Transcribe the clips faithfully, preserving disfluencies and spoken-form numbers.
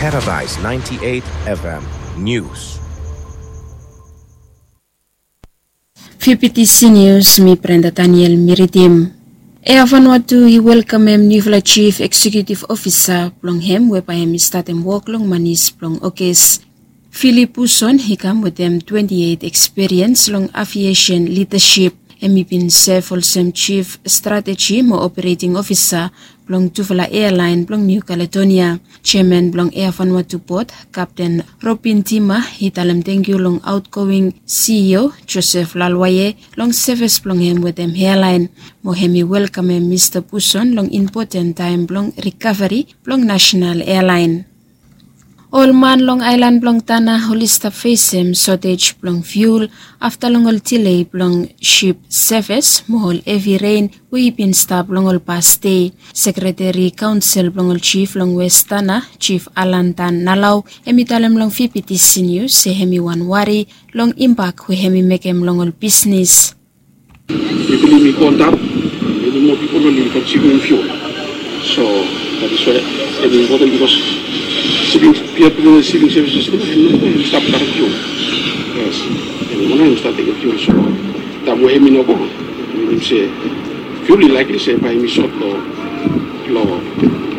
Paradise ninety-eight F M News. Fiu pitisi nius, mi Brenda Daniel mi ridim. Air Vanuatu i welkamem niufala Chief Executive Officer blong hem we bae hem i statem wok long manis blong Ogis. Philip Puson i kam wetem twenti eit ekspiriens long aviesen lidasip. Hem i bin sev olsem Chief Strateji mo Operating Ofisa blong tufala ealaen blong Niu Kaledonia. Jeaman blong Air Vanuatu Bod, Kapten Robin Tima, i talem tangkiu long aotgoing C E O Joseph Lalwaye long sevis blong hem wetem ealaen. Mo hem i welkamem Mista Puson long impoten taem blong rikaveri blong nasenal ealaen. Ol man long aelan blong Tana oli stap fesem sotej blong fiul afta long ol dile blong sip sevis mo ol hevi ren we i bin stap long ol pas dei. Sekreteri kaonsel blong ol jif long Wes Tana, Jif Alan Dan Nalau, hem i talem long V P T C Nius se hem i wan wari long impak we hem i mekem long ol bisnis. Pipol i go antap, many more people oli konsumim fuel. So that is why hem i impoten bikos siping, pia blong siping sevises tu hem no go stap karem fuel. Yes, hem i no hem stap tekem fuel. So taem we hem i no go, minim se fuel i laekli se bae hem i sot lo, lo,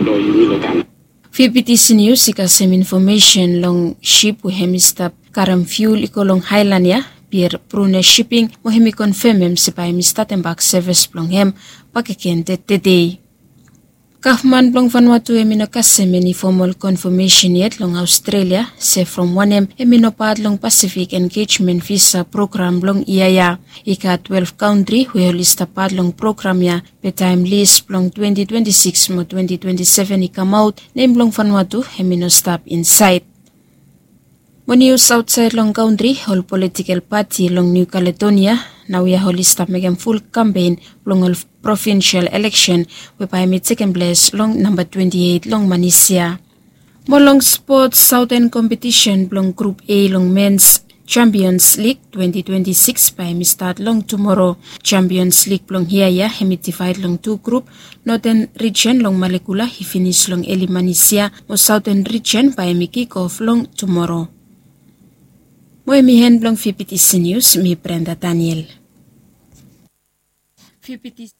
lo yumi lo Tana. V P T C Nius i kasem infomesen long sip we hem i stap karem fiul i go long aelan ya, Pier Brune Shipping, mo hem i konfemem se bae hem i statem bak sevis blong hem bakegen tedei. Gavman blong Vanuatu hem i no kasem eni fomol konfamesen yet long Aostrelia se from wanem hem i no pat long Pasifik Engejmen Visa program blong yia ya. I gat twelef kantri we oli stap pat long program ya, be taem lis blong twenti twenti sikis mo twenti twenti seven i kamaot, nem blong Vanuatu hem i no stap insaed. Mo nius aotsaed long kantri, ol politikel pati long Niu Kaledonia naoia oli stap mekem ful kampen blong ol provinsial eleksen we bae hem i tekem ples long namba twenti eit long manis ya. Mo long spot, saoten kompetisen blong grup A long mens Champions League twenti twenti sikis bae hem i stat long tumoro. Champions League blong yia ya hem i divaed long tu grup. Noten rijen long Malekula i finis long eli manis ya, mo saoten rijen bae hem i kikof long tumoro. Mo hem i en blong V P T C Nius, mi Brenda Daniel. V P T C